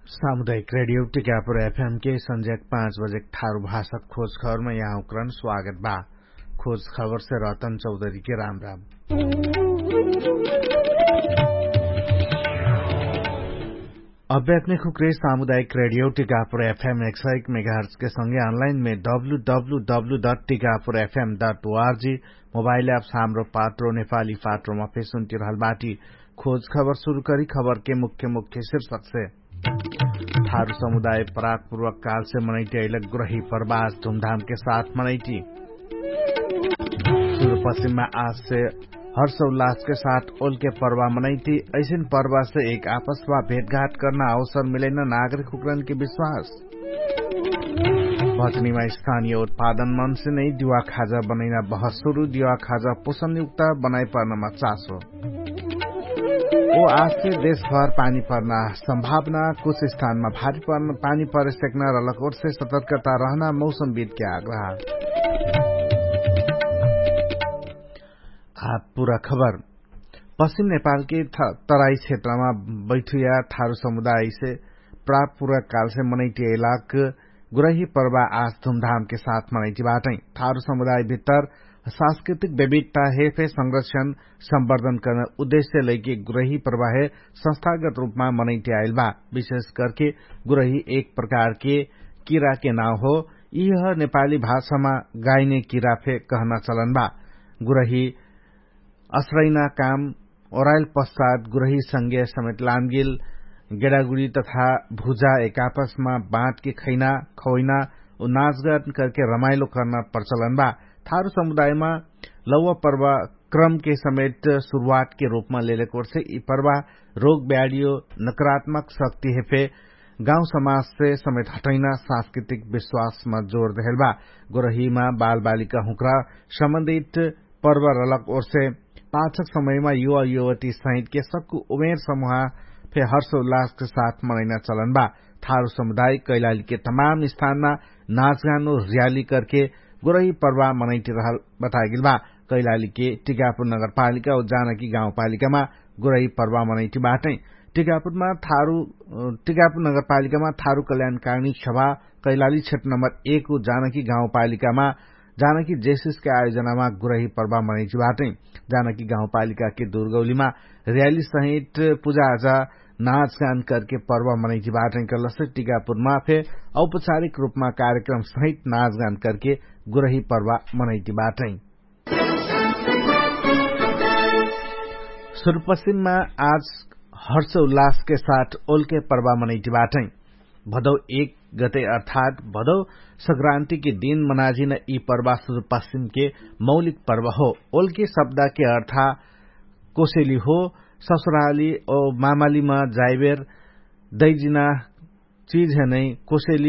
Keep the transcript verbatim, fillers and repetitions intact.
सामुदायिक रेडियो टिकापुर एफएम के संझ्याक पाँच बजेक ठारु भाषक खोज खबरमा यहाँ उक्रन स्वागत बा। खोज खबरसे रतन चौधरीके राम राम। अभ्यात्मिक हुक्रे सामुदायिक रेडियो टिकापुर एफएम एक सय एक मेगाहर्चके संगे अनलाइनमे W W W dot Tikapur FM dot O R G mobile apps Hamro Patro नेपाली पात्रोमा फेसुन्टिरहल बाटी। खोज खबर सुरु करी खबरके मुख्य मुख्य शिर्षकसे। थारु समुदाय पराकपूर्वक कालसे मनैटी अइलक गुरही प्रवास धुमधामके साथ मनैटी। सुरु पश्चिममा आजसे हर्षोल्लासके साथ ओलके पर्वा मनैती। ऐसिन पर्वासे एक आपसमा भेटघाट कर्ना अवसर मिलैना नागरिक हुक्रनके विश्वास। भचनीमा स्थानिय उत्पादन मनसे नै दिवा खाजा बनैना बहसुरु दिवा खाजा पोषणयुक्त बनाइ पर्नमा चासो। ओ आजसे देशभर पानी पर्ना सम्भावना कुछ स्थानमा भारी पानी परे सेक्ना रलक ओर्से सतर्कता रहना मौसमविदके आग्रह। आ पुरा खबर। पश्चिम नेपालके तराई क्षेत्रमा बैठुया थारु समुदायसे प्रापुरा कालसे मनैटियैलाक गुरही पर्वा आज धुमधामके साथ मनैटिबाटै। थारु समुदायभित्तर सांस्कृतिक विविधता हेफे संरक्षण सम्वर्धन कर्न उद्देश्य लैके गुरही पर्वा हे संस्थागत रूपमा मनैटियाइलबा। विशेष करके गुरही एक प्रकारके किराके नाउ हो। यिह नेपाली भाषामा गाइने किरा फे कहना चलन बा। गुरही असरैना काम ओराइल पश्चात गुरही संगे समेत लामगिल गेडागुडी तथा भुजा एकापसमा बाँटके खैना खवैना उ नाचगान करके रमाइलो कर्ना प्रचलन बा। थारु समुदायमा लौवा पर्वा क्रमके समेत सुरुवातके रूपमा लेलेकोर्से यि पर्वा रोग ब्याडियो नकारात्मक शक्ति हेफे गाउँ समाजसे समेत हटैना सांस्कृतिक विश्वासमा जोर देहेल बा। गोरहीमा बालबालिका हुँक्रा सम्बन्धित पर्व रलक ओर्से पाछक समयमा युवा युवती सहितके सक्कु उमेर समुहा फे हर्ष उल्लासके साथ मनैना चलन बा। थारु समुदाय कैलालीके तमाम स्थानमा नाचगानो र्याली करके गुरही पर्वा मनैटी रहल बतागेल बा। कैलालीके टिकापुर नगरपालिका उ जानकी गाउँपालिकामा गुरही पर्वा मनैटी बाटै। टिकापुरमा थारु टिकापुर नगरपालिकामा थारु कल्याणकारिणी सभा कैलाली क्षेत्र नम्बर एक उ जानकी गाउँपालिकामा जानकी जेसिसके आयोजनामा गुरही पर्वा मनैटी बाटै। जानकी गाउँपालिकाके दुर्गौलीमा र्याली सहित पुजाआजा नाचगान करके पर्वा मनैटी बाटै। कलसे टिकापुरमा फे औपचारिक रूपमा कार्यक्रम सहित नाचगान करके गुरही पर्वा मनैटी बाटै। सुरुपश्चिममा आज हर्ष उल्लासके साथ ओलके पर्वा मनैटी बाटै। भदौ एक गते अर्थात भदौ सक्रान्तिके दिन मनाजिन यि पर्वा सुरुपश्चिमके मौलिक पर्वा हो। ओलके शब्दके अर्था कोसेली हो। ससुराली ओ मामालीमा जाइबेर दैजिना चिज हेनै कोसेली